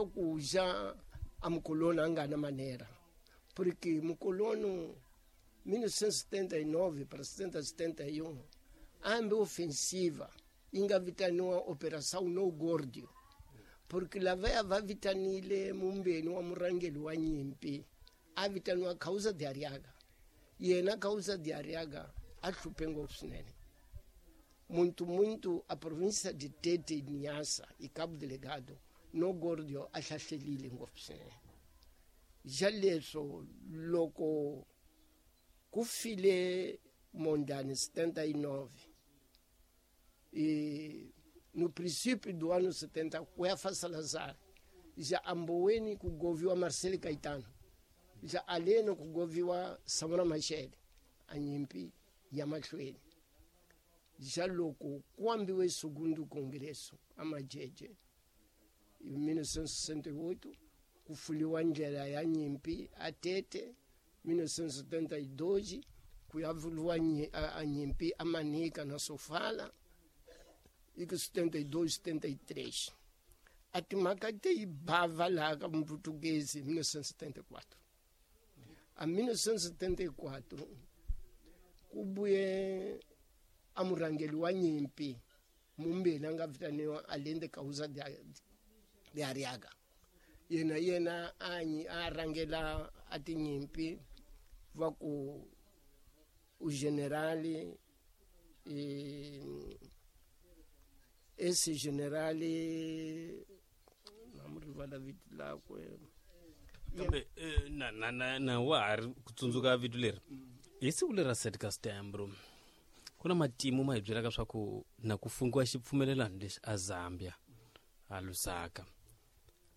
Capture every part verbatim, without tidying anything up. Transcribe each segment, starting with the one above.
Ku já a mucolono a nga na maneira, porque mucolono mil novecentos e setenta e nove para setenta, setenta e um, ambe ofensiva yi nga vitaniwa Operação No Gordio, porque lavaya va vitanile mumbeni wa murhangeri wa nyimpi a vitaniwa Causa de Arriaga. Yena Causa de Arriaga a hluphe ngopfu swinene. Muito, muito a província de Tete e Niassa e Cabo Delgado No Gordio a hlahlelile ngopfu swinene. Ja leswo loko ku file Mondlane setenta e nove e no princípio do ano setenta ku ya fa Salazar, já amboweni ku goviwa Marcelo Caetano, já aleno ku goviwa Samora Machel, a nyimpi ya mahlweni. Já loko ku ambiwe segundo congresso a Majeje em mil novecentos e sessenta e oito, ku fuliwa ndlela ya nyimpi a Tete. Mil novecentos e setenta e dois ku ya vuliwa nyi-, a, a nyimpi a Manica na Sofala, e que setenta e dois, setenta e três. A timhaka te yi bava laha ka Muportuguês em mil novecentos e setenta e quatro. A mil novecentos e setenta e quatro ku vuye a murhangeri wa nyimpi mumbeni a nga vitaniwa Allende Causa de, de Arriaga. Yena yena a nyi-, a rhangela a tinyimpi va ku u generali, e, esse generali na mu rivala vito lakwe. Kambe, eh, na, na, na, na wa ha ri ku tsundzuka vito leri. Hi siku leri ra sete ka Setembro, ku na matimu ma hi byelaka swa ku na ku fungiwa xipfumelelano lexi a Zambia, a Lusaka.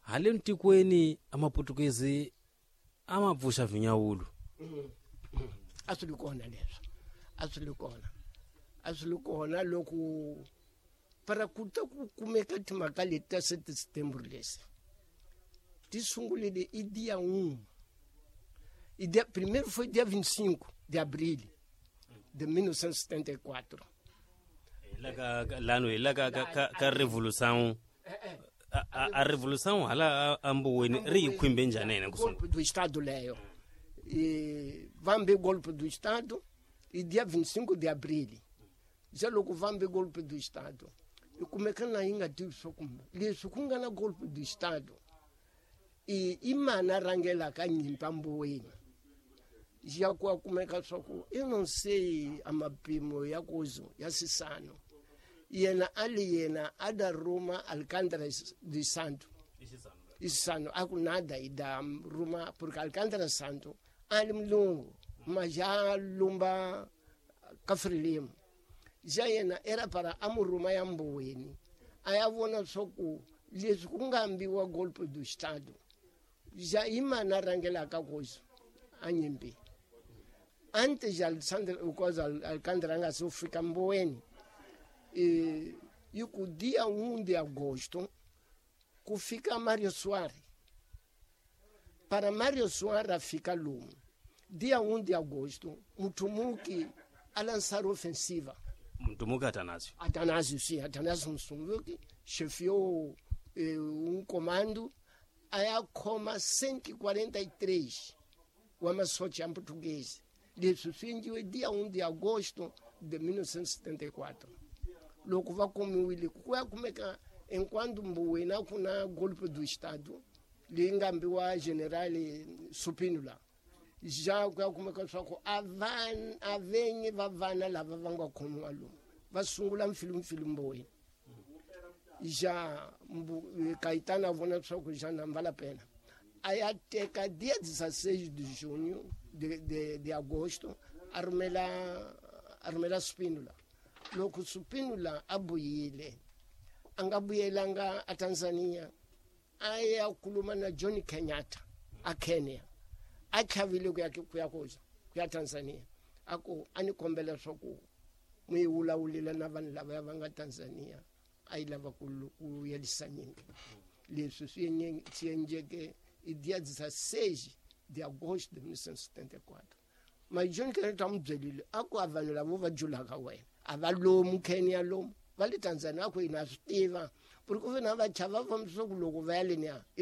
Haleni tikweni a Maputukezi a ma pfuxa vinyawulo. Mm-hmm. A swi ri kona leswo. A swi ri kona. A swi ri kona loko para ku ta ku kumeka timhaka leti ta sete Setembro lesi. Ti sungulile i dia um. E dia, primeiro foi dia vinte e cinco de abril de mil novecentos e setenta e quatro. Hi la ka, ka, lano, hi la ka, ka, ka, ka revolução. A, a, a revolução hala a, a Mboweni ri hi khwimbe njhani yena ku sungula? Golpe do Estado leyo. E vambe golpe do Estado e dia vinte e cinco de abril. Já loko vambe golpe do Estado. E kumeka na yi nga tivi swa ku leswi ku nga na golpe do Estado. E i mani a rhangelaka nyimpi Mboweni? Já ku a kumeka swa ku eu não sei a mapimo ya kuzo ya Sisano. Yena a li yena a da ruma Alcântara de Santo. Isano a ku nada i da ruma porque Alcântara Santo a li mulungu mas já lumba ka Frelimo. Já yena era para a mu ruma ya Mboweni. A ya vona swa ku leswi ku nga ambiwa golpe do Estado. Já i mani a rhangelaka kuzo a nyimpi. Antes de Alexandre, o coisa, Alcântara nga se fika Mboweni. E, e ku dia um de agosto ku fika Mário Soares. Para Mário Soares a fica lume. Dia um de agosto, Mutumuki a lançar ofensiva. Mutumuki Atanásio. Atanásio, sim. Atanásio Mutumuki chefiou eh, um comando a coma cento e quarenta e três o Amazote em português. Leswi swi endliwe dia um de agosto de mil novecentos e setenta e quatro. Loko va kumiwile ku ya kumeka enquanto Mboweni a ku na golpe do Estado leyi nga ambiwa General Supinula. Já ku ya kumeka swa ku a van-, a venyi va vana lava va nga khomiwa lomu va sungula mpfilumpfilu Mboweni. Já Mbu-, Caetano a vona swa ku já na vale a pena. A ya teka dia dezesseis de junho de, de, de agosto a rhumela, a rhumela Spínola. Loko Spínola a vuyile a nga vuyelanga a Tanzania, a ya khuluma na John Kenyatta a Kenya. A chavile ku ya ku ya ku ya Tanzania. A ku a ni kombela swa ku mi yi vulavulile na vanhu lava va nga Tanzania a yi lava ku ku yelisa nyimpi. Leswi swi enye-, swi endleke i dia dezesseis de agosto de mil novecentos e setenta e quatro. Mas John Kenyatta a n'wi byerile a ku a vanhu lava va julaka wena a va lomu Kenya lomu va le Tanzania a ku hina swi tiva ku ri ku ve na va chava va fambisa ku loko va ya leniya i lava